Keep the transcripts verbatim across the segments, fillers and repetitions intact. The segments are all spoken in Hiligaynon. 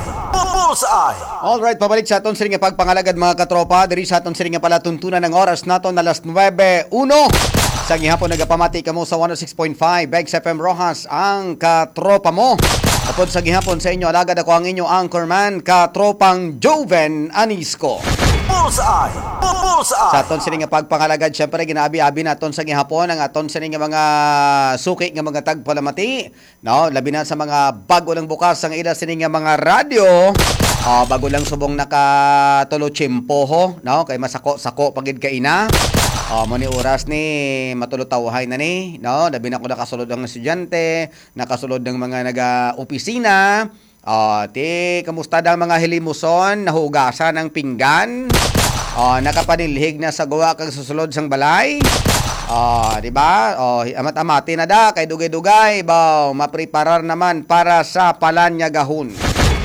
Bullseye! Alright, pabalik sa aton sini nga pagpangalagad, mga katropa. Diri sa aton sini nga palatuntunan, ang oras naton na alas nuebe uno. Sa gihapon, nagapamati kamo sa one oh six point five X F M Roxas, ang katropa mo. Upod sa gihapon sa inyo, alagad, ako ang inyo anchorman, katropang Joven Anisco. Bullseye! Bullseye! Sa aton sini nga pagpangalagad, syempre, ginaabi-abi naton sa gihapon ang aton sini nga mga suki nga mga tagpalamati, no? Labi na sa mga bago lang bukas ang ila sini nga mga radyo. Ah, bago lang subong nakatulo tiyempoho, no? Kay masako-sako pa gid kaina. Ah, mo ni oras ni matulutawhay na ni, no? Labi na ko nakasulod ang estudyante, nakasulod ng mga naga-opisina. Ah, ti, kamusta daw mga hilimuson? Nahugasan ang pinggan? Ah, nakapanilhig na sa guwa kag susulod sang balay? Ah, di ba? Oh, hi-, amat-amati na da, kay dugay-dugay, baw, mapreparar naman para sa palanyagahon.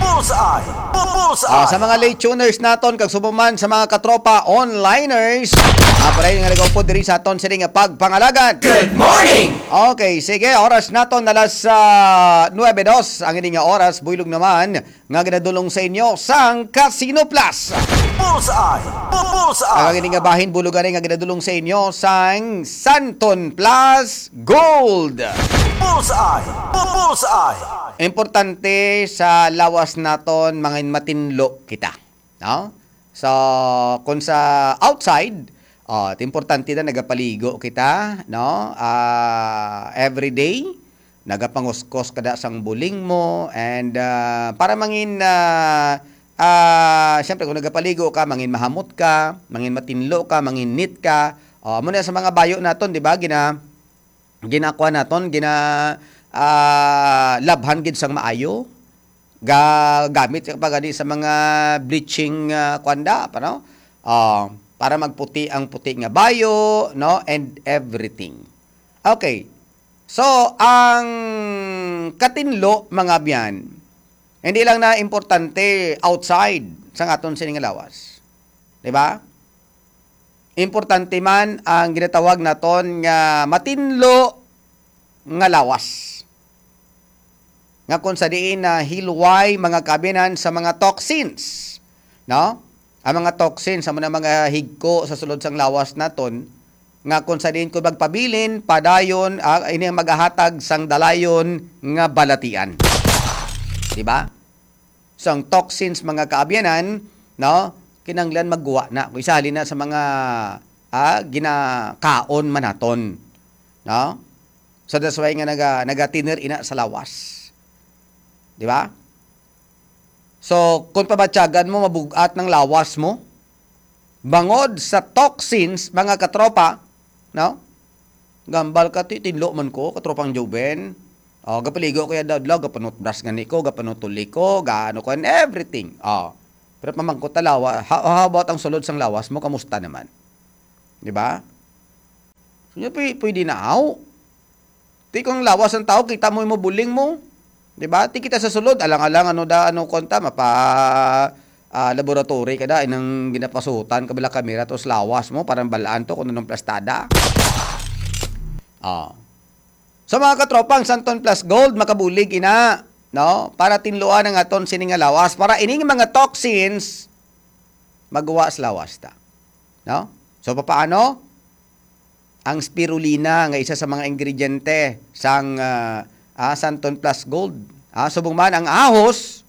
Bullseye! Bullseye! Ah, sa mga late tuners naton, kag subong man sa mga katropa onliners, ah, pwede nga nag-upod diri sa aton sini nga pagpangalagad. Good morning! Okay, sige, oras naton alas, ah, nuebe dos. Ang ini nga oras, buylog naman, nga ginadulong sa inyo sang Casino Plus. Bullseye! Bullseye! Ang ini nga bahin, bulogan nga ginadulong sa inyo sang Santon Plus Gold. Bullseye! Bullseye! Importante sa lawas naton, mangin matinlo kita, no? So, kung sa outside, oh, importante na nagapaligo kita, no? Ah, every day, nagapanguskos kada sang buling mo, and, ah, para mangin, ah, ah, siyempre, kung nagapaligo ka, mangin mahamot ka, mangin matinlo ka, mangin neat ka. Oh, amo na sa mga bayo naton, di ba? Gina-, ginakuha naton, gina, ah, labhan gid sang maayo. Gagamit ka pa gani sa mga bleaching, ah, kwanda pa, no? Ah, para magputi ang puti nga bayo, no? And everything. Okay. So, ang katinlo, mga abyan, hindi lang na importante outside sa aton sini nga lawas. Di ba? Importante man ang ginatawag naton nga matinlo nga lawas, nga kung sa diin na hilway, mga kaabyanan, sa mga toxins, no? Ang mga toxins, amo na mga higko sa sulod sang lawas naton, nga kung sa diin ko magpabilin, padayon, ah, ini ang magahatag sang dalayon nga balatian. Di ba? So, ang toxins, mga kaabyanan, no, kinahanglan magguwa na. Kung isa, halin na sa mga, ah, ginakaon man naton, no? So, that's why nga naga-, nagatiner ina sa lawas. Di ba? So, kung pabatyagan mo, mabugat ng lawas mo, bangod sa toxins, mga katropa, no? Gambal ka, ti, tinlo man ko, katropang Joven. Oh, gapaligo ko yada adlaw, gapanutbras gani ko, gapanutuli ko, gaano ko, and everything. Oh. Pero pamangkot ta lawa-, ha-, how about ang sulod sang lawas mo, kamusta naman? Di ba? So, pwede, pwede na, aw. Ti kung lawas ang tao, kita mo yung buling mo. Di ba? Ti kita sa sulod, alang-alang, ano da, ano, konta, mapa, ah, laboratory ka da, inang ginapasutan ka bala kamera, tapos lawas mo, parang balaan to, kung anong plastada. Ah. So, mga katropa, ang Santon Plus Gold, makabulig ina, no? Para tinluan ang aton sini nga lawas, para ining mga toxins, maguwa sa lawas ta. No? So, papaano? Ang spirulina nga isa sa mga ingrediente sang, ah, ah, Santon Plus Gold. Ah, subong man ang ahos,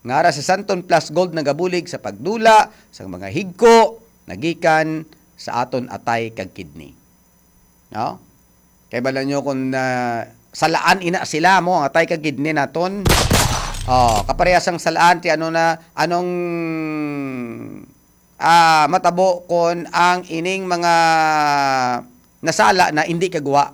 nga ara sa Santon Plus Gold nagabulig sa pagdula sang mga higko nagikan sa aton atay kag kidney. No? Kay bala nyo kung, ah, salaan ina sila mo, ang atay kag kidney naton. Oh, kaparehas ang salaan ti ano na, anong, ah, matabo kon ang ining mga nasala na indi kagwa,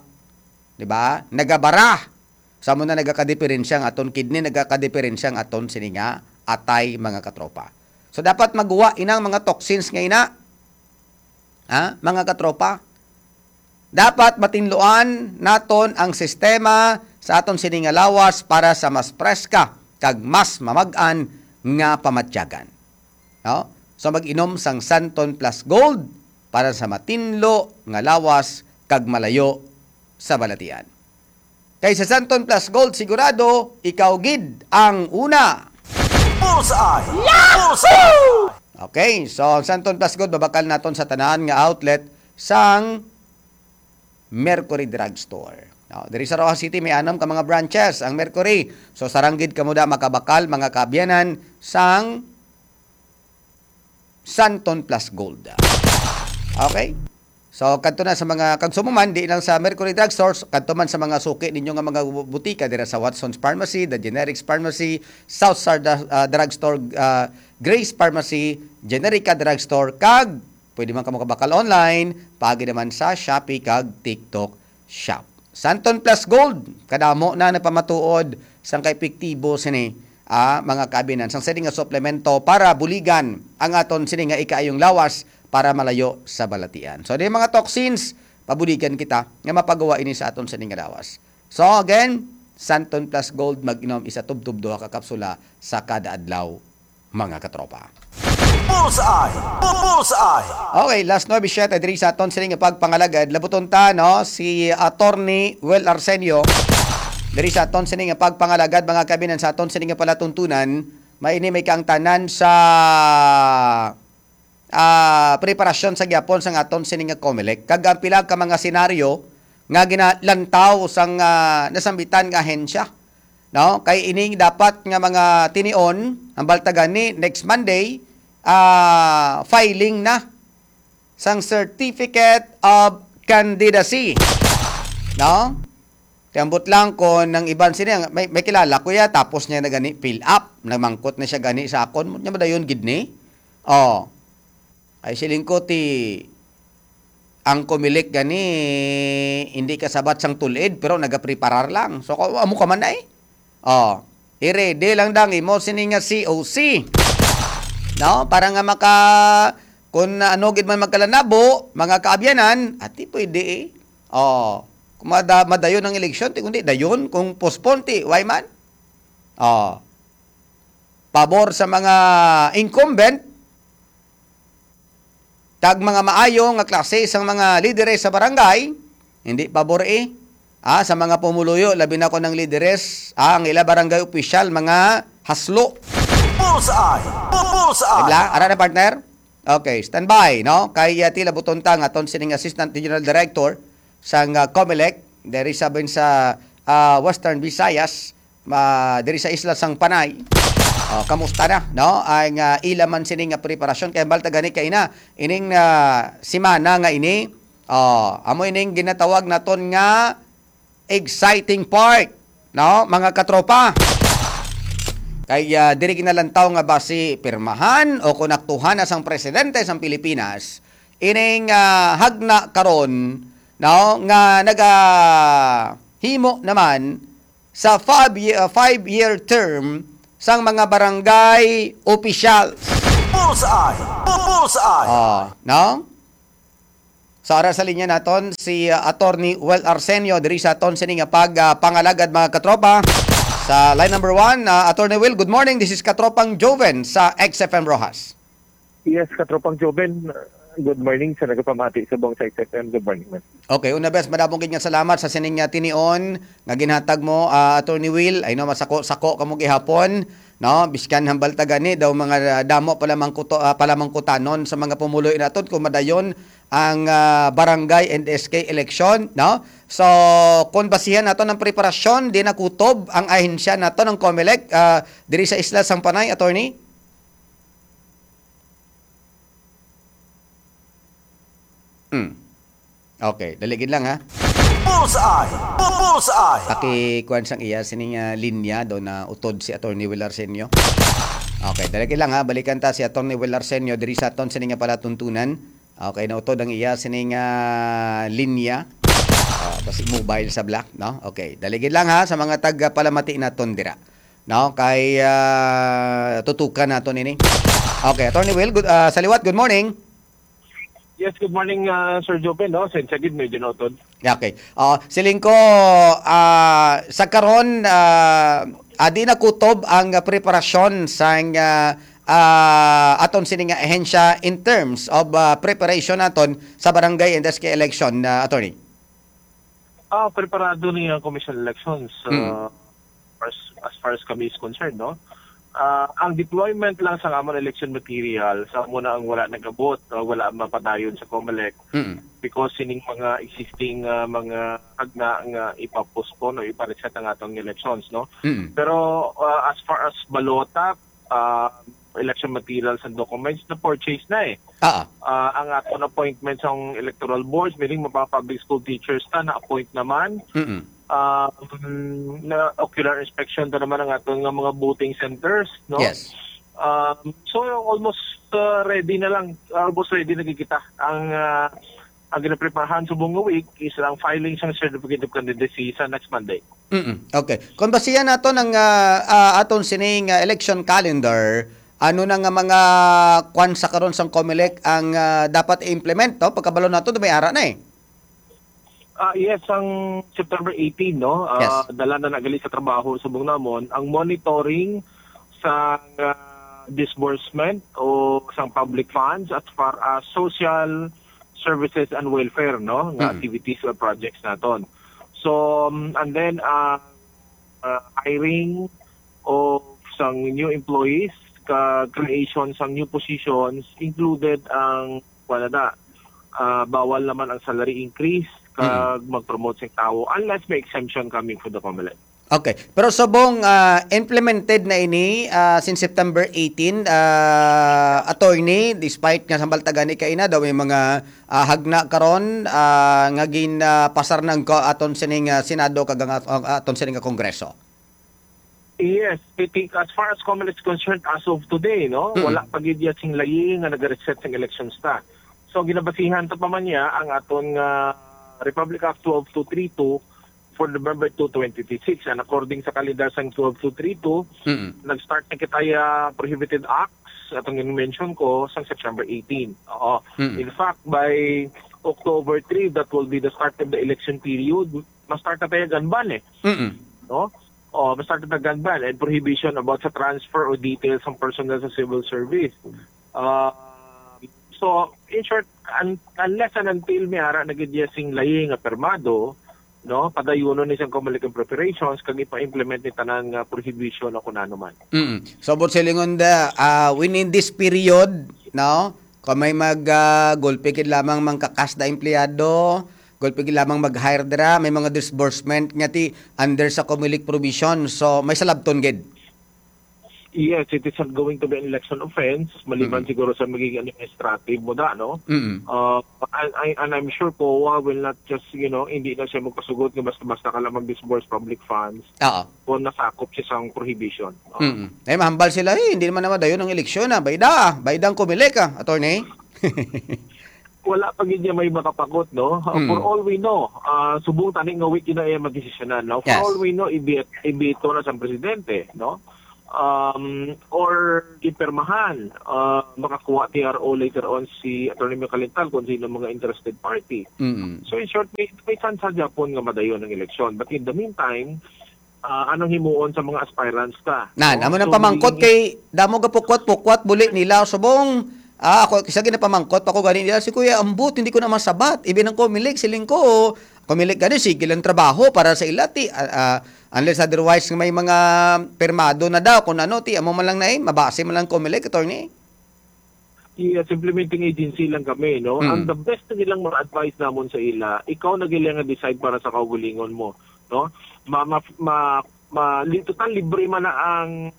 di ba? Nagabara. Sa mo na nagakadiperensya ang aton kidney, nagakadiperensya ang aton sini nga atay, mga katropa. So, dapat maguwa inang mga toxins nga ina. Ha? Mga katropa, dapat matinluan naton ang sistema sa aton sini nga lawas para sa mas preska kag mas mamag-an nga pamatyagan. No? So, mag-inom sang Santon Plus Gold para sa matinlo nga lawas kag malayo sa balatian. Kay sa Santon Plus Gold, sigurado, ikaw gid ang una. Bullseye! Bullseye! Okay, so ang Santon Plus Gold, babakal naton sa tanan nga outlet sang Mercury Drugstore. No, diri sa Roxas City, may anam ka mga branches ang Mercury. So, sarang gid kamo da makabakal, mga kaabyanan, sang Santon Plus Gold. Okay? So, kadto na sa mga, kag sumuman, di lang sa Mercury Drugstore, kadto man sa mga suki ninyo nga mga bu-, butika, dira sa Watson's Pharmacy, The Generics Pharmacy, South Star Dra-, ah, Drugstore, ah, Grace Pharmacy, Generica Drugstore, kag pwede man kamo kabakal online, paagi naman sa Shopee kag TikTok Shop. Santon Plus Gold, kadamo na napamatuod sang kaepektibo sini, ah, mga kaabyanan, sang sini nga suplemento para buligan ang aton sini nga ikaayong lawas para malayo sa balatian. So, di mga toxins, pabuligan kita nga mapagawa ini sa aton sini nga lawas. So, again, Santon Plus Gold, mag-inom isa tubtob duha ka kapsula sa kada adlaw, mga katropa. Bullseye! Bullseye! Okay, last nuebe siyete diri sa aton sini nga pagpangalagad. Labuton ta, no, si Attorney Will Arsenio. Diri sa aton sini nga pagpangalagad, mga kaabyanan, sa aton sini nga palatuntunan, may ini may kaangtanan sa, ah, preparasyon sa gyapon sang aton sini nga Comelec. Kag ang pila ka mga senaryo nga ginalantaw sang, ah, nasambitan nga ahensya, no? Kay ining dapat nga mga tinion, ang balta gani, next Monday, ah, filing na sang Certificate of Candidacy, no? Tiambot lang kon ang iban sini, may, may kilala ko ya, tapos niya na gani fill up, nagmangkot na siya gani sa akon, nya madayon gid ni. Oh. Ay, siling ko, ti, ang Comelec gani, hindi kasabat sang tulid, pero nagapreparar lang. So, ko-, amo ka man ay. Oh, i-ready lang dang imo sini nga C O C. No? Para nga maka, kung ano gid man magkalanabo, mga kaabyanan, ati pwede eh. Oh, kung mada-, madayon ang eleksyon, ti kundi dayon, kung postpone, ti, why man? Oh, pabor sa mga incumbent, kag mga maayo nga klase sang mga lideres sa barangay, hindi pabor eh. Ah, sa mga pumuluyo, labi na ko ng lideres, ah, ang ila barangay opisyal, mga haslo. Bullseye! Bullseye! Diba? Ara na, partner? Okay, standby, no? Kay, ah, tila buton ta nga aton sining Assistant Regional Director sang, ah, Comelec, diri sa bin sa, ah, Western Visayas, ma-, diri sa isla sang Panay. Oh, kamusta na, no? Ang, ah, ila man sini nga preparasyon kay balta gani kay na ining, ah, semana nga ini. Oh, amo ining ginatawag naton nga exciting part, no, mga katropa. Kay, ah, diri ginalantaw nga basi pirmahan o kon aktuhan na sang presidente sang Pilipinas ining, ah, hagna karon, no, nga nagahimo naman sa five ye-, uh, five-year term sang mga barangay officials. Bullseye! Bullseye! Oh, no? Sa oras sa linya naton si, uh, Attorney Well Arsenio diri sa aton sini nga pag, uh, pangalagad, mga katropa. Sa line number one, uh, Attorney Will, good morning. This is Katropang Joven sa X F M Roxas. Yes, Katropang Joven, good morning sa nagapamati sa buong sa X F M. Good morning, man. Okay, una bes, madamo gid nga salamat sa sining, ah, tinion nga ginhatag mo, ah, Attorney Will. Ay, no, masako-sako kamo gihapon, no? Biskan hambal ta gani daw mga, ah, damo pala mangkuto-, ah, pala mangkutanon sa mga pumuloy naton kung madayon ang, ah, barangay and S K election, no? So, kung basihan naton ang preparasyon, di nakutob ang ahensya naton, ang Comelec, ah, diri sa Isla sang Panay, Attorney? Hmm. Okay, dali gid lang, ha. Bullseye! Bullseye! Pakikuan sang iya sining, ah, linya do na utod si Attorney Will Arsenio. Okay, dali gid lang, ha. Balikan ta si Attorney Will Arsenio diri sa aton sining nga palatuntunan. Okay, nautod ang iya sining, ah, linya. Ah, basi mobile sa black, no? Okay, dali gid lang, ha, sa mga tag-, ah, palamati naton dira. No, kay, ah, tutukan nato nini. Okay, Attorney Will, good, ah, sa liwat, good morning. Yes, good morning, ah, Sir Joven, no? Sensya gid, medyo nautod. Okay. Ah, siling ko, ah, sa karon, ah, ah, di nakutob ang preparasyon sang, ah, ah, aton sini nga ahensya in terms of, ah, preparation naton sa barangay and S K election, ah, attorney? Ah, preparado ni ang Commission on Elections, Mm. ah, as, as far as kami is concerned, no? Ah, ang deployment lang sa amon election material, sa amo na ang wala nagabot, ah, wala mapadayon sa COMELEC Mm. because sining mga existing, ah, mga agna nga ipa-postpone o ipa-reset ang atong elections, no? Mm. Pero, ah, as far as balota, ah, election materials and documents, na-purchase na eh. Ah, Ah, ang aton appointment sa electoral boards, meaning mga public school teachers ta, na-appoint naman. Mm. Ah, mm, na ocular inspection ta naman ang aton nga mga voting centers, no? Yes. Um, so, almost, ah, ready na lang, almost ready na gid kita. Ang, ah, ang ginapreparahan subong nga week is ang filing sang certificate of candidacy sa next Monday. Mm, okay. Kung basihan nato ng, ah, ah, aton sining, ah, election calendar, ano na nga mga kwan sa karon sang COMELEC ang, ah, dapat i-implement, no? Pagkabalo nato, may ara na eh. Ah, yes, ang September eighteen, no? Ah, Yes. dala na nagali sa trabaho subong namon ang monitoring sa, ah, disbursement o sang public funds as far as social services and welfare, no? Nga Mm. activities or projects naton. So, um, and then, ah, ah, hiring of sang new employees, ka creation sang new positions, included ang, wala na, ah, bawal naman ang salary increase, kag Mm. mag-promote sing tawo, unless may exemption coming from the COMELEC. Okay. Pero subong, ah, implemented na ini, ah, since September eighteen, ah, attorney, despite nga sa balta gani kaina daw may mga, ah, hagna karon, ah, nga gin, ah, pasar ng ko-, aton sining, ah, Senado kag ang at-, ang aton sining, ah, Kongreso? Yes, I think as far as COMELEC is concerned, as of today, no, Mm. wala pa gid ya sing layi nga nag-reset sing elections ta. So, ginabasihan ta pa man niya ang aton nga Republic Act twelve two three two for November two, twenty twenty-six. And according sa kalendar sang twelve two three two, Mm. nag-start na kita ya prohibited acts, atong mention ko, sang September eighteen. Oo. Mm. In fact, by October three, that will be the start of the election period. Ma-start na tayo gun ban eh. Mm. No? O, ma-start na gun ban and prohibition about sa transfer o details ng personnel sa civil service. Ah, so, in short, un-, unless and until may ara na gid ya sing layi nga permado, no, padayunon ni sang COMELEC ang preparations kag ipa-implement ni tanan nga prohibition o kung ano man. Mm. So, but silingon da, ah, within this period, no, kung may mag, ah, gulpi gid lamang mangkakas da empleyado, gulpi gid lamang mag-hire dira, may mga disbursement nga ti under sa COMELEC provision. So, may salabton gid. Yes, it is not going to be an election offense, maliban Mm. siguro sa magiging administrative mo da, no? Mm. Uh, and, I, and I'm sure COA will not just, you know, hindi na siya magpasugot nga basta-basta ka lang mag-disburse public funds Oo. kung nasakop siya sa prohibition. Oo. Mm. Eh, mahambal sila, eh, hindi naman naman dayon ang eleksyon, ah. Bayda, ah. Bayda ang COMELEC, ah, attorney. Wala pa gid niya may makapakot, no? Uh, Mm. For all we know, ah, subong tani nga week yun na iya magdesisyonan, no? For Yes. all we know, ibi-, ibito na sa presidente, no? Um, or ipirmahan, ah, makakuha T R O later on si Attorney Michael Lintal kung sino mga interested party. Mm. So, in short, may, may chance sa Japon nga madayon ang eleksyon. But in the meantime, ah, anong himuon sa mga aspirants ta? Nan, No? amo nang So, pamangkot magiging kay damo ga pukwat-pukwat buli nila subong. Ah, ako, kisa ginapamangkot pa ko gani nila si Kuya Ambot, hindi ko na masabat. Even ang COMELEC, siling ko, COMELEC gani, sige lang trabaho para sa ila, ti, ah, ah, unless otherwise may mga pirmado na daw, kung ano, ti, amo man lang na eh, mabase man lang COMELEC, attorney. Yes, implementing agency lang kami, no? Mm. Ang the best na nilang mga advice namon sa ila, ikaw na gila nga decide para sa kaugalingon mo, no? Ma, ma, ma, ma, li-, total libre man na ang,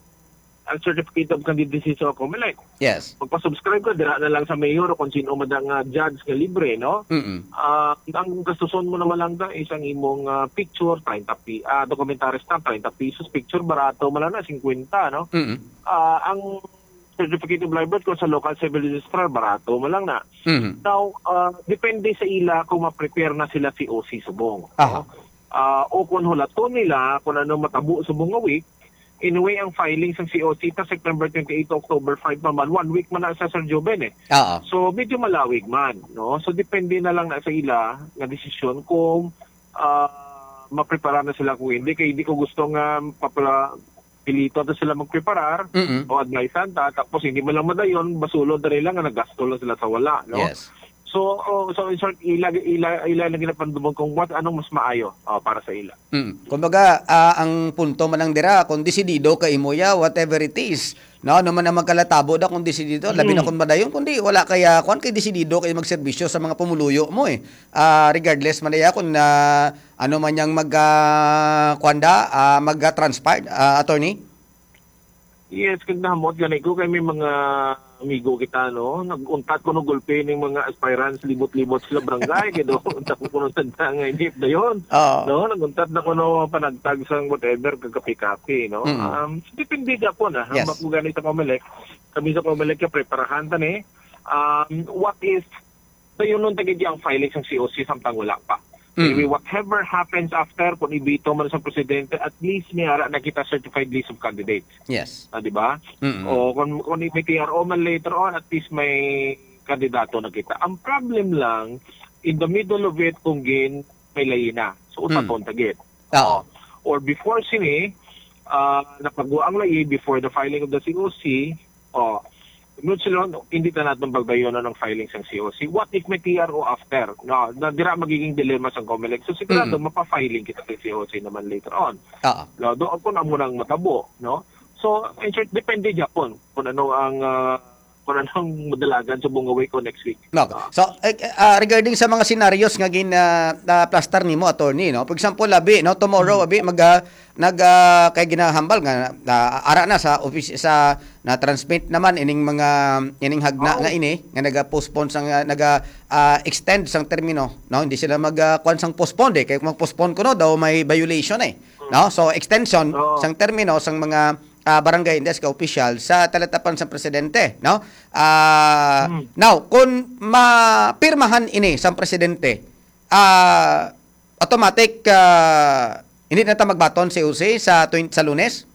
ang certificate of candidacy sa COMELEC. Yes. Magpa-subscribe ka, dira na lang sa mayor o kung sino man ang, ah, judge nga libre, no? Mm-mm. Ah, ang gastuson mo naman lang da is ang imong, ah, picture, treinta pi-, ah, documentary stamp, treinta pesos, picture, barato man lang na, cinquenta, no? Mm-mm. Ah, ang certificate of live birth kung sa local civil registrar, barato man lang na. Mhm. Now, ah, depende sa ila kung ma-prepare na sila C O C subong. Aha. Ah, o kung hulaton nila kung ano matabo subong nga week, anyway, ang filing sang C O C ta September twenty-eight to October five pa man, one week man na sa Sir Joven eh. Oo. So, medyo malawig man, no? So, depende na lang na sa ila nga desisyon kung, ah, maprepara na sila kung hindi. Kaya hindi ko gusto nga papala-, pilito na sila magpreparar Mm-mm. o advisean ta, tapos hindi man lang madayon, basulod na nila nga nagasto lang sila sa wala, no? Yes. So, oh, so in short, ila, ila, ila na ginapandumog kung what, anong mas maayo, oh, para sa ila. Mm. Kumbaga, ah, ang punto man lang dira, kung desidido ka imo ya, whatever it is, no, ano man ang magkalatabo da kung desidido, labi na Mm. kung madayon, kundi wala kaya, kuwan kay desidido kay magserbisyo sa mga pumuluyo mo eh. Ah, regardless man ya kung na, ano man yang mag, ah, kuwan da, ah, mag, ah, transpire, ah, attorney? Yes, kag nahamot gani ko kay may mga amigo kita, no? Nag-untat kuno gulpi ning mga aspirants, libot-libot sila barangay, kay do, untat ko kuno sa dangay ni dayon. Oo. No, nag-untat na kuno panagtag sang whatever, kag kape-kape, no? Mm. Um, depende gyapon, ah. Yes. Hambak ko gani sa Comelec, kami sa Comelec, ka preparahan ta ni. Um, what if dayonon ta gid ang filing sang C O C samtang wala pa? Mm. Anyway, whatever happens after, kung ibito man sa presidente, at least may ara na kita certified list of candidates. Yes. Ah, di ba? Mm-mm. O kung, kung may T R O man later on, at least may kandidato na kita. Ang problem lang, in the middle of it, kung gin, may layi na. So, Mm. utapon ta gid. Oo. O, or before sini, ah, napagwa ang layi before the filing of the C O C, o, Muchilon, hindi ta natin pagbayunan ang filing sang C O C. What if may T R O after? No, na dira magiging dilemma sang Comelec. So, sigurado, Mm. mapa-filing kita sa C O C naman later on. Oo. No, doon kung amo nang matabo, no? So, in short, depende gyapon kung ano ang, ah, kung anong madalagan sa Bungaway ko next week. No. Ah. So, eh, eh, ah, regarding sa mga scenarios nga gin, ah, ah, plastar nimo, attorney, no? For example, abi, no, tomorrow, Mm. abi, mag, ah, nag, ah, kay ginahambal nga, ah, ara na sa office, sa na-transmit naman ining mga, ining hagna Oo. nga ini, nga naga-postpone sang, ah, naga, ah, extend sang termino, no? Hindi sila mag, ah, kuwan sang postpone, eh. Kay kung mag-postpone kuno daw may violation, eh. Mm. No? So, extension Oo. sang termino sang mga, ah, barangay indes ka opisyal sa talatapan sang presidente, no? Ah, Hmm. now, kung mapirmahan ini sang presidente, ah, automatic, ah, hindi na ta magbaton sa C O C sa twen-, sa Lunes?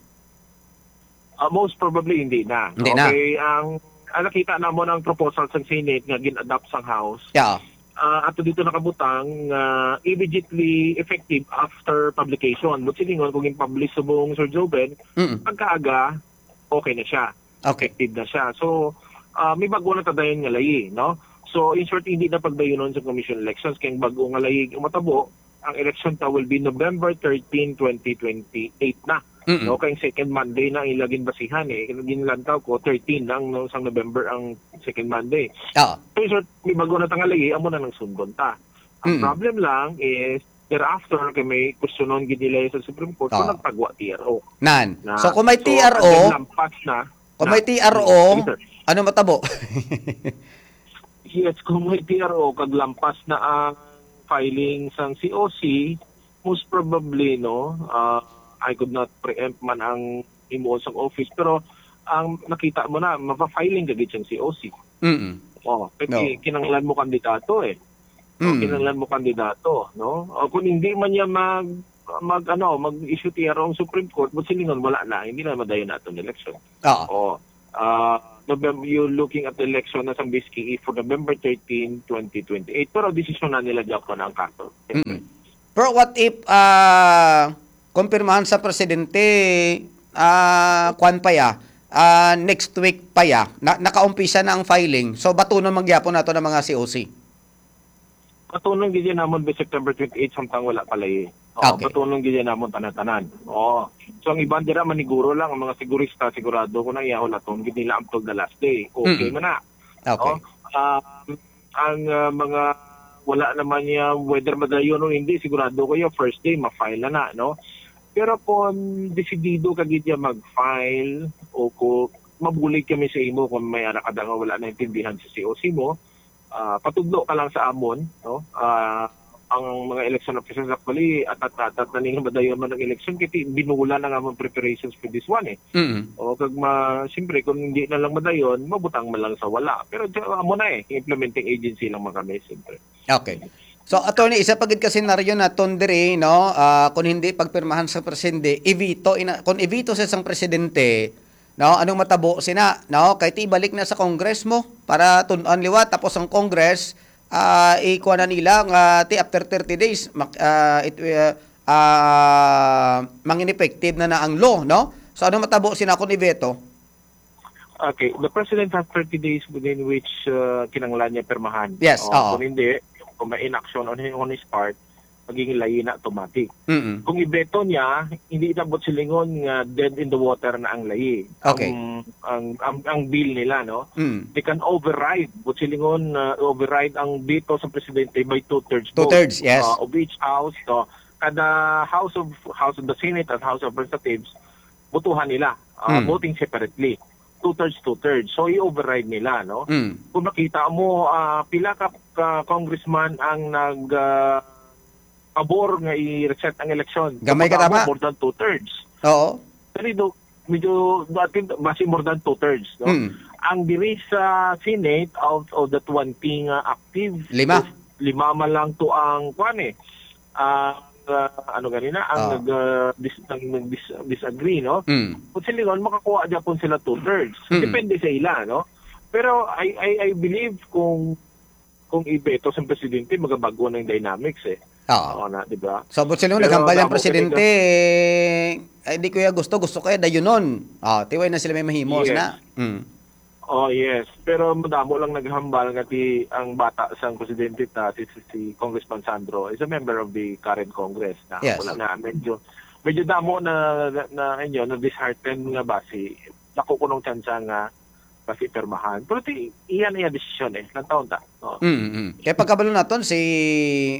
Ah, most probably, hindi na. Hindi na. Okay, ang, ang nakita namon ang proposal sa Senate nga gin-adopt sang House. Yeah. Ah, ato dito nakabutang nga immediately effective after publication. But silingon, kung in-publish subong, Sir Joven, Mm. pagkaaga, okay na siya. Okay. Effective na siya. So, ah, may bago na ta dayon nga layi, no? So, in short, hindi na pagdayunon sa Commission Elections. Kay ang bago nga layi nga matabo, ang election ta will be November thirteen, twenty twenty-eight na. Mm-mm. No, kay second Monday na ang ila ginbasihan, eh. Kay ginlantaw ko, thirteen lang, no, sang November ang second Monday. Oo. So, in short, may bago na ta nga layi, amo na nang sundon ta. Ang Mm. problem lang is, thereafter, kay may questionon gid nila sa Supreme Court, kung Oo. nagpagwa T R O. Nan. Na, So, kung may so, T R O, ang lampas na, kung na, may T R O, sige, sir. Ano matabo? Yes, kung may T R O, kag lampas na ang filing sang C O C, most probably, no, ah, I could not preempt man ang himuon sang office, pero ang nakita mo na, mapa-filing ka gid sang C O C. Mm-mm. Oh, kay No. ki-, kinahanglan mo kandidato, eh. O, Mm. kinahanglan mo kandidato, no? O, kung hindi man niya mag-, mag-, ano, mag-issue T R O ang Supreme Court, but silingon, wala na, hindi na madayon na atong election. Oo. O, ah, November, you're looking at the election na sa B S K E for November thirteen, twenty twenty-eight. Pero desisyon na nila gyapon ang kaso. Mm-mm. Pero what if, ah, kumpirmahan sa presidente, ah, kwan pa ya, ah, next week pa ya, na, nakaumpisa na ang filing. So, batunon man gyapon nato ng mga C O C. Batunon gid yan namon by September twenty-eight, samtang wala pa layi. Oo, Okay. Batunon gid yan namon tanan-tanan. Oo. So, ang iban dira maniguro lang, ang mga sigurista, sigurado ko na iyahon naton gid nila up to the last day. Okay Mm. man na. Okay. Oh, um, ang, ah, mga wala naman niya, whether madayon o hindi, sigurado ko yung first day, ma-file na na, no? Pero kung desidido ka gid niya mag-file o kung mabulig kami sa imo kung may ara ka da nga wala naintindihan sa C O C mo, ah, patudlo ka lang sa amon, no? Ah, ang mga election officials actually, atat-atat na ning madayon man ang election, kay ti-, binula na nga mga preparations for this one, eh. Mm. O, kag ma-, siyempre, kung hindi na lang madayon, mabutang man lang sa wala. Pero di-, amo na, eh, implementing agency lang man kami, siyempre. Okay. So, attorney, isa pa gid ka senaryo naton diri, no? Ah, kung hindi pagpirmahan sa presidente, i-veto ina-, kung i-veto sa isang presidente, no, anong matabo sina, no? Kay ti balik na sa Congress mo para tun-an liwat, tapos ang Congress, ah, ikuha na nila nga ti after thirty days, mak-, ah, it, ah, ah, mangin-effective na na ang law, no? So, anong matabo sina kung i-veto? Okay, the president has thirty days within which, uh, kinahanglan niya pirmahan. Yes, Oh, oo. Kung hindi, kung may inaction on his, on his part, magiging layi na automatic. Mm-mm. Kung ibeto niya, hindi na buot silingon nga dead in the water na ang layi. Okay. Ang, ang, ang, ang bill nila, no? Mm. They can override, buot silingon, uh, override ang veto sa presidente by two-thirds vote. Two-thirds, yes. Uh, of each house, no? Kada house of, house of the Senate at House of Representatives, botohan nila, uh, Mm. voting separately. Two-thirds, two-thirds. So, i-override nila, no? Mm. Kung makita mo, ah, pila ka, ka congressman ang nag, ah, pabor nga i-reset ang eleksyon. Gamay ka, Kung tama. More than two-thirds. Oo. Pero do, medyo, I think, basi more than two-thirds, no? Mm. Ang diri sa Senate, out of the twenty nga active, Lima. lima man lang to ang, kwan eh, ang, ah, ano ganina, ang Ah. nag, ah, dis-, ang nag-dis-, disagree, no? Mm. Kung sila, makakuha gyapon sila two-thirds. Mm. Depende sa ila, no? Pero I, I, I believe kung, kung ibeto sa presidente, magabago na yung dynamics eh. Oo. Oo na, di ba? So, buot silingon, Pero naghambal ang damo presidente, talaga. Eh, di ko ya gusto, gusto ko ya dayunon. Ah, tiway na sila may mahimo Yes. na. Mm. Oh, yes. Pero madamo lang naghambal nga ti ang bata sang presidente ta, si, si, si Congressman Sandro, is a member of the current Congress na. Yes. Wala na, medyo, medyo damo na, na, na, inyo, na disheartened nga basi. Dako kunong tsansa nga basi pirmahan. Pero ti, iya na iya desisyon eh. Lantawon ta. Oo. Mm, mm. Kaya pagkabalo naton, si,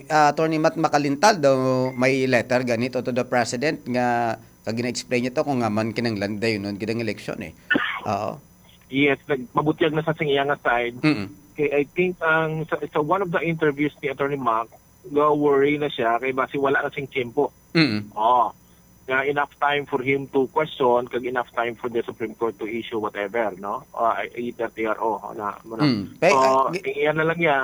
ah, Attorney Matt Makalintal daw may letter ganito to the president nga, kag gina-explain niya to kung nga man kinahanglan dayon nun gid ang eleksyon eh. Oo. Yes, nagpabutyag na sa sing iya nga side. Mm. Kay I think ang sa, sa one of the interviews ni Attorney Mac, ga-worry na siya kay basi wala na sing tiyempo. Mm. Oh. Nga enough time for him to question, kag enough time for the Supreme Court to issue whatever, no? Uh, either T R O, na, mo na. Mm. Kay, So, ah, gi- iyan na lang niya.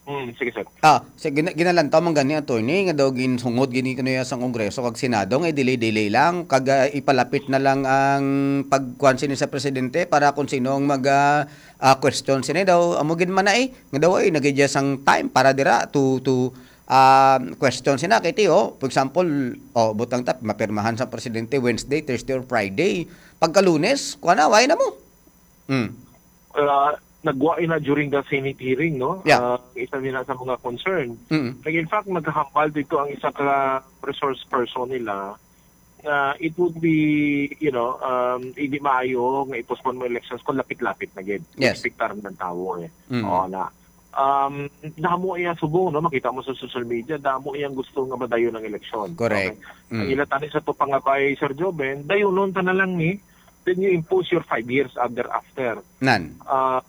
Mm, sige, sir. Ah, sa gina-, ginalantaw man gani, attorney, nga daw ginsungod gini kuno ya sa Kongreso kag Senado nga i-delay-delay lang kag, ah, ipalapit na lang ang pagkuan sini sa presidente para kung sino ang mag, ah, ah, question sini daw. Amo gid man na eh, nga daw ay nagidya sang time para dira to, to, ah, question sina kay ti, oh, for example, oh, butang tap mapirmahan sa presidente Wednesday, Thursday or Friday. Pagka Lunes, kuan na, way na mo. Mm. Ah, nagwa ina during the Senate hearing, no? Yeah. Ah, isa nila sa mga concern. Mm. Like, in fact, naghahambal dito ang isa ka resource person nila na it would be, you know, um, hindi maayo nga i-postpone mo elections kung lapit-lapit na gid. Yes. Expectar ng tao eh. Mm. Oo na. Um, damo iya subong, no? Makita mo sa social media, damo iyang gusto nga madayon ang eleksyon. Correct. Okay? Ang Mm. ila tani sa to pangabay, Sir Joven, dayunon ta na lang ni, then you impose your five years thereafter. Nan. Ah,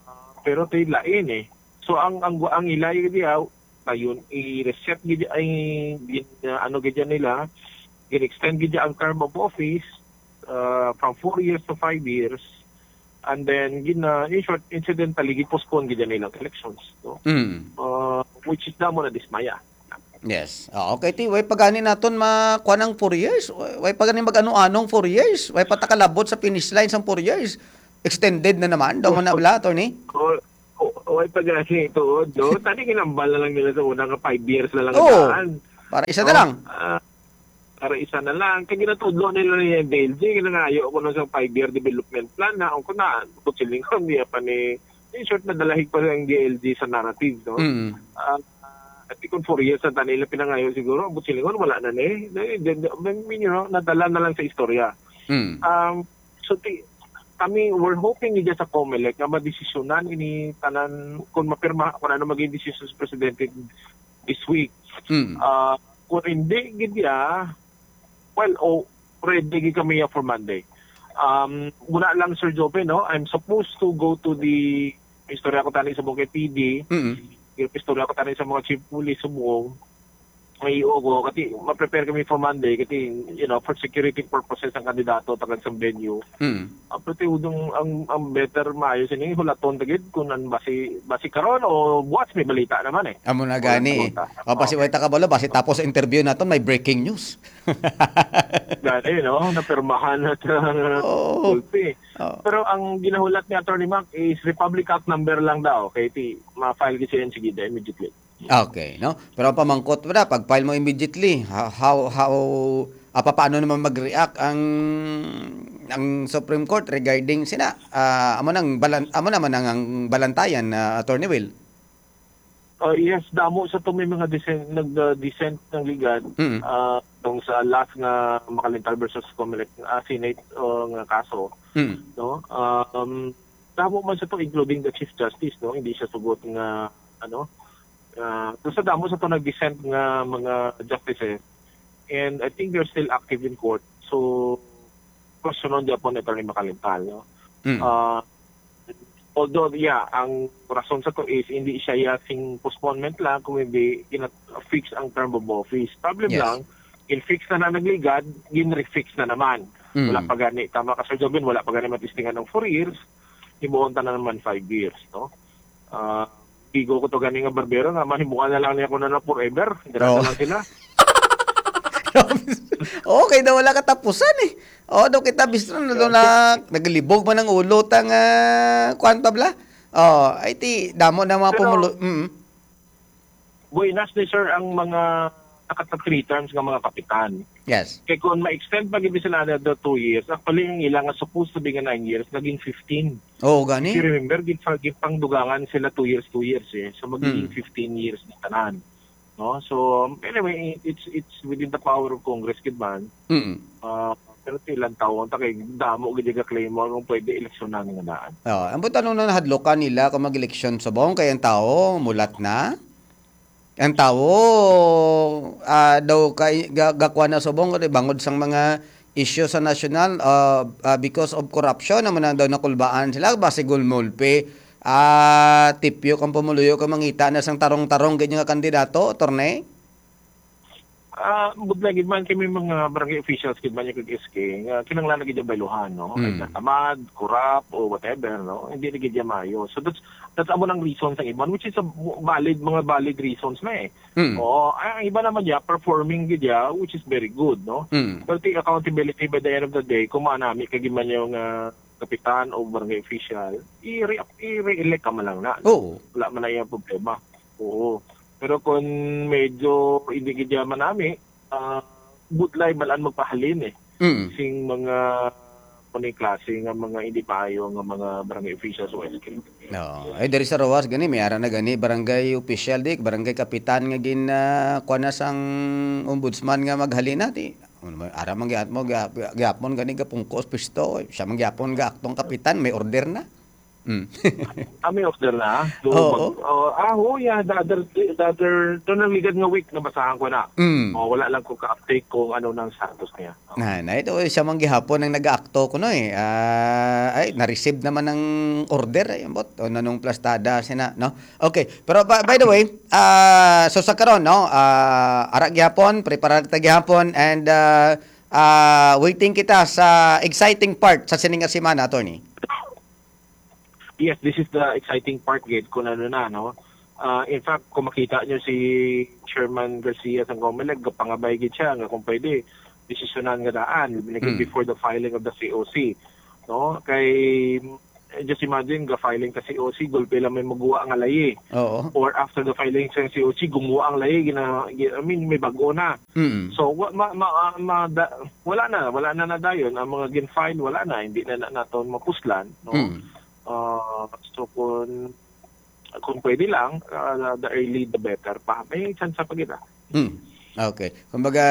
pero tay lain eh. So ang, ang, ang ila diya, ayun, i-reset gid ay gin-, ano gid yan nila, gin-extend gid ang term of office, uh, from four years to five years. And then gina, in short, incidentally gid-postpone gid yan nilang elections, no? Mm. Uh, which is damo na dismaya. Yes. Ah, okay, ti, way pa gani naton ma-, kuan ang four years. Way, way pa gani mag-ano-anong four years. Way pa ta kalabot sa finish line sang four years. Extended na naman. Daw man na bala, attorney? O, o, way pa gani tuod, no? Tani ginambal na lang nila sa una nga five years na lang Oo. Daan. Para isa na No? lang. Ah, para isa na lang. Kay ginatudlo nila ni D L G, ginangayo ko na sa five-year development plan na, ang kuna, kung siling ko, niya pa ni, in short, nadalahig pa ang D L G sa narrative, no? Mm. Ah, I think kung four years ang tanila pinangayo siguro, ang silingon, wala na ni. Di, di, di, I mean, you know, nadala na lang sa istorya. Mm. Um, so, ti, kami, we're hoping nga sa COMELEC nga madesisyonan ini tanan, kung mapirma, kung ano maging desisyon sa presidente this week. Mm. Ah, kung hindi, gid ya, well, oh, ready gid kami ya for Monday. Um, muna lang, Sir Joven, no? I'm supposed to go to the, istorya ko tani sa mga P D, Mm. istorya ko tani sa mga chief police sa buong, may iyo ko, kasi ma-prepare kami for Monday, kasi, you know, for security purposes ang kandidato, tagal sa venue. Mm. Ah, pati udong ang, ang better maayo sini, hulaton ta gid kung ang basi, basi karon o buwas may balita naman eh. Amo na Wala gani. na balita. O, basi Oh. way ta kabalo, basi tapos interview naton, may breaking news. Gani, no? Napirmahan na sa Oo. gulpi. Oo. Pero ang ginahulat ni Attorney Mac is Republic Act number lang daw. Kay ti, ma-file gid siya yan, sige, immediately. Okay, no? Pero ang pamangkot pa na, pag-file mo immediately, ha-, how, how, Ah, papaano naman mag-react ang, ang Supreme Court regarding sina? Ah, amo nang balan-, amo naman ang, ang balantayan, ah, Attorney Will. Uh, yes, damo sa to may mga dissent, nag-, uh, dissent ng ligad, Mm. uh, tong sa last nga Makalintal versus Comelec, uh, Senate, uh, nga kaso, Mm. no? Um, damo man sa to, including the Chief Justice, no? Hindi siya sugot nga, ano, uh, so sa damo sa to nag-dissent nga mga justices, and I think they're still active in court. So, questionon gyapon ni Attorney Makalintal, no? Mm. Uh, although, yeah, ang rason sa to is hindi siya ya sing postponement lang, kung hindi gina-fix ang term of office. Problem Yes. lang, in-fix na na nagligad, gin-refix na naman. Mm. Wala pa gani, tama ka, Sir Jobin, wala pa gani matistingan ng four years, himuon ta na naman five years, no? Ah, bigo ko to gani nga barbero nga mahimuan na lang niya ko na, na forever. Dira Oo. na lang sila. Okay daw, wala katapusan eh. Oh, daw kita bistro na daw na naglibog man ang ulo ta nga kuwan pa bla. Oh, ay ti damo na mga Pero pumulo. Mm. Buenas ni sir ang mga nakata three terms nga mga kapitan. Yes. Kay kung ma-extend pa gid sila another two years, actually ang ila nga supposed to be nga nine years, naging fifteen. Oo, gani. If you remember, gid pa, gid pang dugangan sila two years, two years eh. So magiging Mm. fifteen years na tanan. No? So, um, anyway, it's it's within the power of Congress gid man. Mm. Ah, pero ti ilang tawo, ta kay damo gid nga claim mo kung pwede eleksyonan nga daan. Oh, ang butanong na nahadlokan nila kung mag-eleksyon subong kay ang tawo mulat na. Ang tawo, ah, daw kay ga-, gakuha na subong kay bangod sang mga isyu sa nasyonal, ah, ah, because of corruption naman ang daw nakulbaan sila, basi gulmulpe. Ah, tipyo kang pumuluyo kung mangita na sang tarong-tarong gid nga kandidato, attorney? Ah, budlay gid man kay may mga barangay officials gid man yung kag S K nga kinahanglan na gid yung bayluhan, no? Ay Mm. natamad, corrupt, o whatever, no? Hindi na gid yan maayo. So that's, that's amo nang reason sa iban, which is a valid, mga valid reasons na eh. Mm. Oo, ay, ang iba naman niya, performing gid ya, which is very good, no? Mm. Pero the accountability by the end of the day, kung maanami ka gid man yung, ah, kapitan o barangay official, i-re-, i-re-elect ka man lang na, no? Oo. Wala man na yung problema. Oo. Pero kung medyo hindi gid ya manami, ah, budlay man ang magpahalin eh. Mm. Sing mga kuning klase nga mga hindi maayo nga mga barangay officials o S K. No. Ay, diri sa Roxas gani, may ara na gani barangay official, di, barangay kapitan nga gin, ah, kuha na sang ombudsman nga maghalina, di. Ano man, ara man gyapon, gyap-, gyapon gani gapungkos pisto, eh. Siya man gyapon ga aktong kapitan, may order na. Mm. Ah, may order na? So, Oo. mag-, oh, ah, oh, yeah, the other, the other, to nang ligad nga week, nabasahan ko na. Mm. Oh, wala lang ko ka-update kung ano nang status niya. Na, na ito, siya man gihapon ang nag-aakto kuno eh. Ah, ay, na-receive naman ang order, ay, ambot. O nanong plastada sina, no? Okay, pero by, by the way, ah, so sa karon, no, ah, ara gihapon, preparar ta gihapon, and, ah, ah, waiting kita sa exciting part sa sining nga semana, attorney. Yes, this is the exciting part gid kung ano na, no? Ah, in fact, kung makita nyo si Chairman Garcia sang Comelec, gapangabay gid siya nga kung pwede, desisyonan nga daan, like, Hmm. before the filing of the C O C, no? Kay, eh, just imagine, ga-filing ka C O C, gulpe lang may maguwa nga layi. Oo. Or after the filing sa C O C, gumuwa ang layi, gina-, gi-, I mean, may bag-o na. Mm. So, wa-, ma-, ma-, ah, ma-, da-, wala na, wala na nadayon. Ang mga gin-file, wala na, hindi na, na naton mapuslan, no? Mm. Ah, so, kung, kung pwede lang, ah, the early the better pa. May chance pa gid, ah. Hmm. Okay. Kumbaga,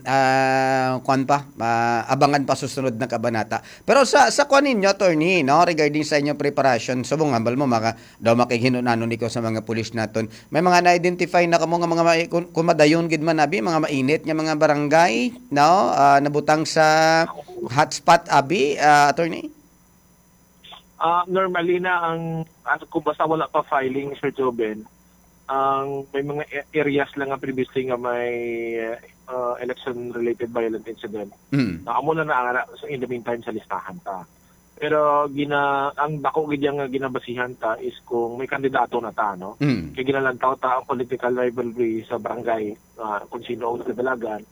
ah, kwan pa, ah, abangan pa susunod na kabanata. Pero sa, sa kwan ninyo, attorney, no, regarding sa inyong preparation, subong hambal mo, maka-, daw makighinun-anon ikaw sa mga pulis naton. May mga na-identify na kamo nga mga ma-, kung, kung madayon gid man, abi, mga mainit nga mga barangay, no, ah, nabutang sa hotspot, abi, ah, attorney? Ah, normally na ang, as, kung basta wala pa filing, Sir Joven, ang may mga a-, areas lang nga previously nga may, ah, election-related violent incident. Mm. Na amo na na, sa, in the meantime, sa listahan ta. Pero gina-, ang dako gid yang nga ginabasihan ta is kung may kandidato na ta, no? Mm. Kay ginalantaw ta ang political rivalry sa barangay, ah, kung sino ang kadalagan.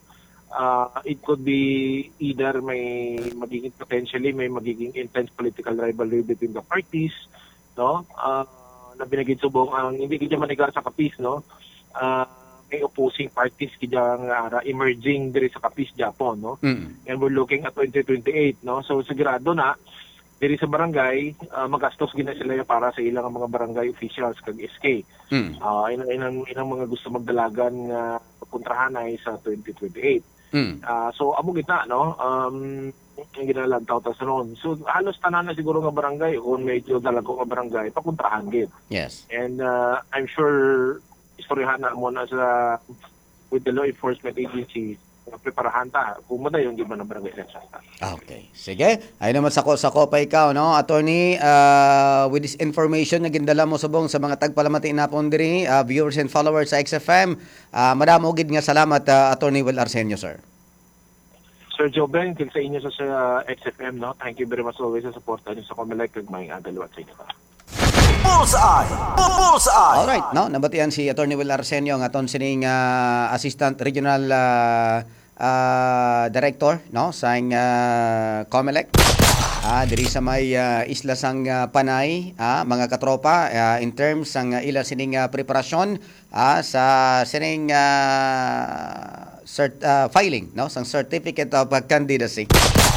Ah, it could be either may magiging, potentially may magiging intense political rivalry between the parties, no? Ah, na binagid subong ang hindi gid manigar sa kapis, no? Ah, may opposing parties gid nga ara emerging diri sa Capiz, Japon, no? Mm. And we're looking at twenty twenty-eight, no? So, sigurado na, diri sa barangay, ah, magastos gid na sila para sa ilang mga barangay officials kag S K. Mm. Ah, inang, inang, inang mga gusto magdalagan nga kontrahanay sa twenty twenty-eight. Mm. Ah, so, amo gid na, no? Um, ang ginalantaw ta sa noon. So, halos tanan na siguro nga barangay, kung medyo dalago nga barangay, pakontrahan gid. Yes. And uh, I'm sure istoryahan na mo na sa with the law enforcement agency nga preparahan ta kung madayon di man ang barangay election ta. Okay. Sige. Ay naman sako-sako pa ikaw, no? Attorney, uh, with this information na gindala mo subong sa mga tagpalamati napon diri, uh, viewers and followers sa X F M, uh, madamo gid nga salamat, uh, Attorney Will Arsenio, sir. Sir Joven, kag sa inyo sa, sa X F M, no? Thank you very much always sa support niyo sa Comelec kag may adalwat sa inyo. Bullseye! Bullseye! Alright, no? Nabatian si Attorney Will Arsenio nga aton sining ah, Assistant Regional ah, ah, Director, no, sang ah, Comelec. Ah, diri sa may ah, isla sang ah, Panay, ah, mga katropa, ah, in terms sang ah, ila sining ah, preparasyon ah, sa sining ah, cert, ah, filing, no, sang Certificate of Candidacy.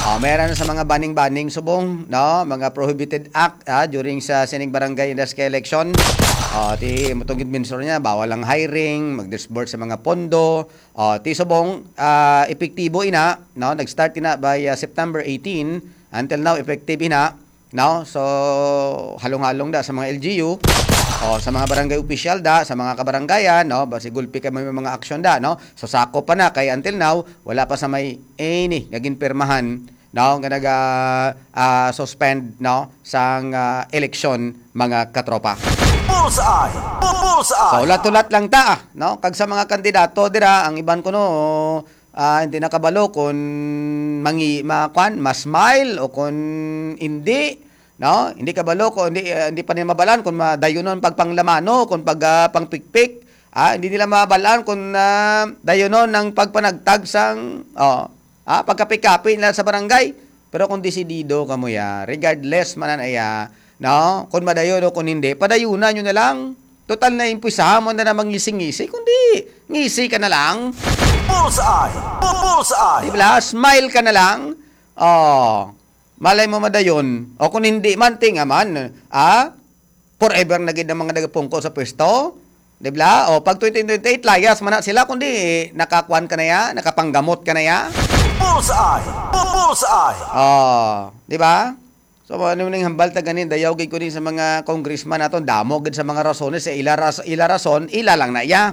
Ah, meron na sa mga banning-banning subong, no, mga prohibited act ah, during sa sining barangay and S K election. Ah, ti mutong mention niya, bawal ang hiring, mag-disburse sa mga pondo. Ah, ti subong ah, epektibo ina, no, nag-start ina by ah, September eighteen, until now effective ina, no? So halong-halong da sa mga L G U o sa mga barangay official da, sa mga kabarangayan, no? Basi gulpi kay may mga aksyon da, no? So sakop pa na kay until now wala pa sa may any nga ginpirmahan, no, nga naga ah, suspend, no, sang ah, eleksyon, mga katropa. Bullseye! Bullseye! So ulat-ulat lang ta, ah, no? Kag sa mga kandidato dira, ang iban kuno ah, hindi nakabalo kung mangi ma kwan, ma-smile o kung hindi, no? Hindi kabalo kung hindi ah, hindi pa nila mabalaan kung madayunon pagpanglamano, kung pag ah, pangpikpik. Ah, hindi nila mabalaan kung ah, dayunon ang pagpanagtag sang oh, ah, pagkapi-kapi nila sa barangay. Pero kung desidido kamo ya, regardless man na iya, no? Kung madayon o kung hindi, padayunan nyo na lang. Total na impisahan mo na namang ngisi-ngisi, kundi ngisi ka na lang. Bullseye! Bu- Bullseye! Di ba? Smile ka na lang. Oh, malay mo madayon. O kung hindi man, tinga man. Ah? Forever na gid ang mga nagapungko sa pwesto. Di ba? O pag twenty twenty-eight, layas man na sila, kundi nakakuan ka na ya, nakapanggamot ka na ya. Bullseye! Bu- Bullseye! Oh, di ba? So ano ning hambal ta ganin, dayaw gid ko ni sa mga congressman naton, damo gid sa mga rasones sa ila ras, ila rason, ila lang na iya.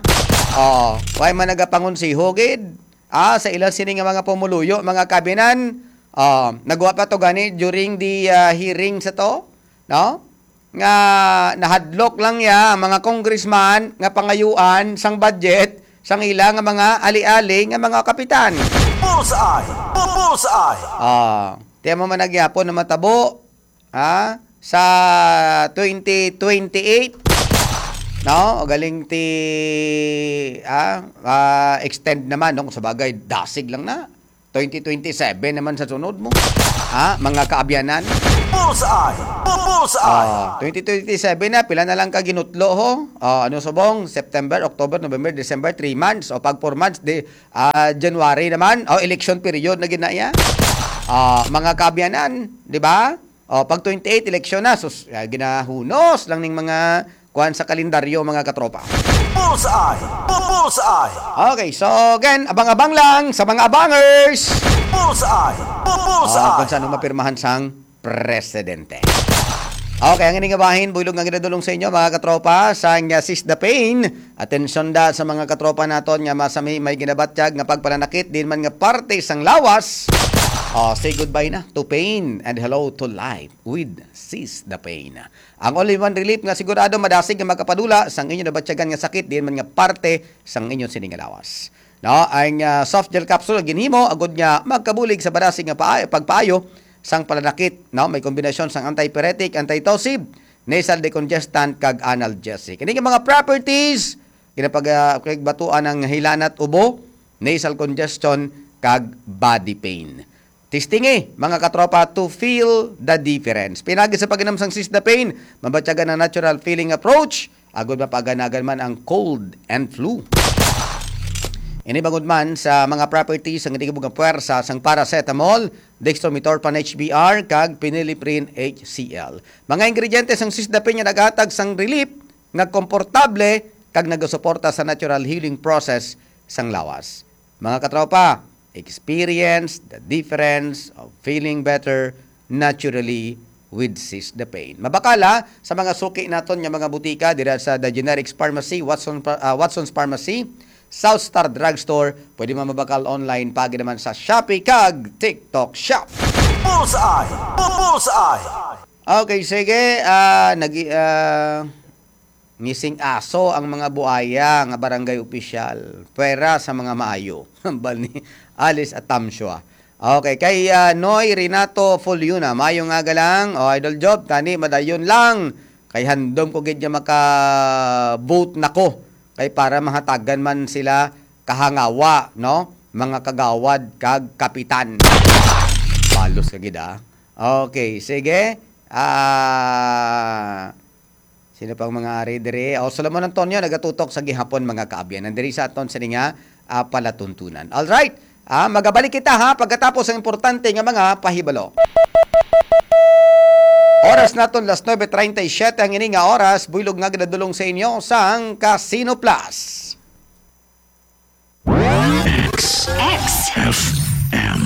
Oh, way man nagapangonseho gid. Ah, sa ila sini nga mga pumuluyo, mga kabinan. Oh, nagwa pa to gani during the ah, hearing sa to, no? Nga nahadlok lang ya ang mga congressman nga pangayuan sang budget sang ila nga mga ali-ali nga mga kapitan. Bullseye! Bu- Bullseye! Ah, tiyan mo man nagyapon na matabo, ha? Sa twenty twenty-eight, no? O galing ti, ah, ah, extend naman, no? Sa bagay, dasig lang na. Twenty twenty-seven naman sa sunod mo. Ha? Mga kaabyanan. Bullseye! Bu- Bullseye! Ah, twenty twenty-seven na, pila na lang ka ginutlo ho? Ah, ano subong? September, October, November, December, three months. O pag four months, di, ah, January naman. O election period na gid na iya. Ah, mga kaabyanan, di ba? O pag twenty-eight, eleksyon na. Sus, ah, ginahunos lang ning mga kuan sa kalendaryo, mga katropa. Bullseye! Bu- Bullseye! Okay, so again, abang-abang lang sa mga abangers. Bullseye! Bu- Ah, Bullseye! kung saan mapirmahan sang presidente. Okay, ang ining bahin, buylog nga ginadulong sa inyo, mga katropa, sa nga Seize the Pain. Atensyon da sa mga katropa naton nga masami may ginabatyag nga pagpananakit, din man nga parte sang lawas. Oh, say goodbye na to pain and hello to life with Seize the Pain. Ang only one relief nga sigurado madasig nga makapadula sang inyo nabatyagan nga sakit, din man nga parte sang inyo sini nga lawas. No, ang ah, soft gel capsule ginhimo agud nga magkabulig sa madasig nga paa- pagpaayo sang pananakit, no? May kombinasyon sang antipyretic, antitussive, nasal decongestant kag analgesic. Kini nga mga properties ginapagbatuan ang hilanat, ubo, nasal congestion kag body pain. Testingi, mga katropa, to feel the difference. Pinagi sa pag-inom sang Seize the Pain, mabatyagan ang natural feeling approach, agud mapaganagan man ang cold and flu. Ini bangod man sa mga properties sang ginatubag nga puwersa sang paracetamol, dextromethorphan H B R, kag phenylephrine H C L. Mga ingrediente sang Sisdapin nga naghatag sang relief nga komportable kag nagasuporta sa natural healing process sang lawas. Mga katropa, experience the difference of feeling better naturally with Sisdapin. Mabakal, ha, sa mga suki naton nga mga butika dira sa The Generics Pharmacy, Watson, ah, Watson's Pharmacy, South Star Drugstore. Pwede man mabakal online, paagi naman sa Shopee kag TikTok Shop. Bullseye! Bu- Bullseye! Okay, sige. Ah, nag ah, missing aso ang mga buaya nga barangay opisyal. Pwera sa mga maayo. Hambal ni Alice Atamsua. Okay, kay ah, Noy Renato Fuliuna, mayo nga galang. O, Idol Job, tani madayon lang. Kay handom ko gid nga maka-vote na ko. Kay para mahatagan man sila kahangawa, no? Mga kagawad kag kapitan. Balos ka gid, ah. Okay, sige. Ah, sino pang mga ari diri? O, Solomon Antonio, nagatutok sa gihapon, mga kaabyan. Nandiri sa aton sini nga ah, palatuntunan. All right. Ah, magabalik kita, ha, pagkatapos ang importante nga mga pahibalo. Oras naton las nuebe treinta y siete ang ini nga oras, buylog nga ginadulong sa inyo sang Casino Plus. X. X. F M.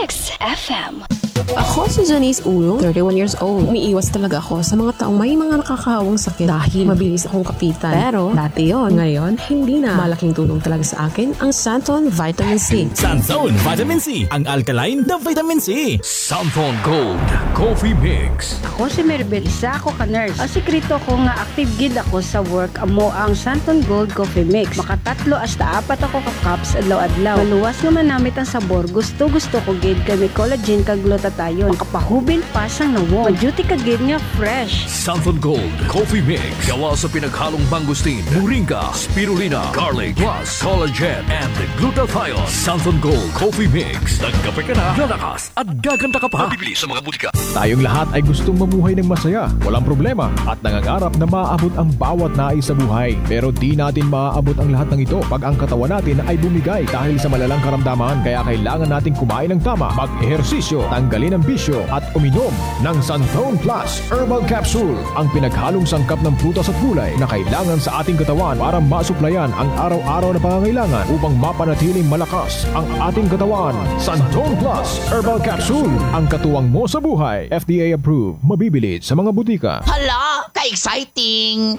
X F M. Ako si Janice Ulong, thirty-one years old. Umiiwas talaga ako sa mga taong may mga nakakahawang sakit dahil mabilis akong kapitan. Pero dati yon, ngayon hindi na. Malaking tulong talaga sa akin ang Santon Vitamin C. Santon Vitamin C, ang alkaline na vitamin C. Santon Gold Coffee Mix. Ako si Maribel, isa ako ka nurse. Ang sikreto ko nga active gid ako sa work amo ang Santon Gold Coffee Mix. Makatatlo hasta apat ako ka cups adlaw-adlaw. Maluwas nga manamit ang sabor, gusto-gusto ko gid kay may collagen kag glutathione. Makapahubil pa sang nawong. Ma-duty ka gid nga fresh. Santon Gold Coffee Mix. Gawa sa pinaghalong mangosteen, moringa, spirulina, garlic, plus collagen and glutathione. Santon Gold Coffee Mix. Nagkape ka na, lalakas at gaganda ka pa. Mabibili sa mga butika. Tayong lahat ay gustong mamuhay ng masaya, walang problema, at nangangarap na maabot ang bawat nais sa buhay. Pero di natin maaabot ang lahat ng ito pag ang katawan natin ay bumigay dahil sa malalang karamdaman. Kaya kailangan nating kumain ng tama, mag-ehersisyo, tanggalin ang bisyo, at uminom ng Santon Plus Herbal Capsule, ang pinaghalong sangkap ng prutas at gulay na kailangan sa ating katawan para masuplayan ang araw-araw na pangangailangan upang mapanatiling malakas ang ating katawan. Santon Plus Herbal Capsule, ang katuwang mo sa buhay. F D A approved. Mabibili sa mga butika. Hala, ka-exciting!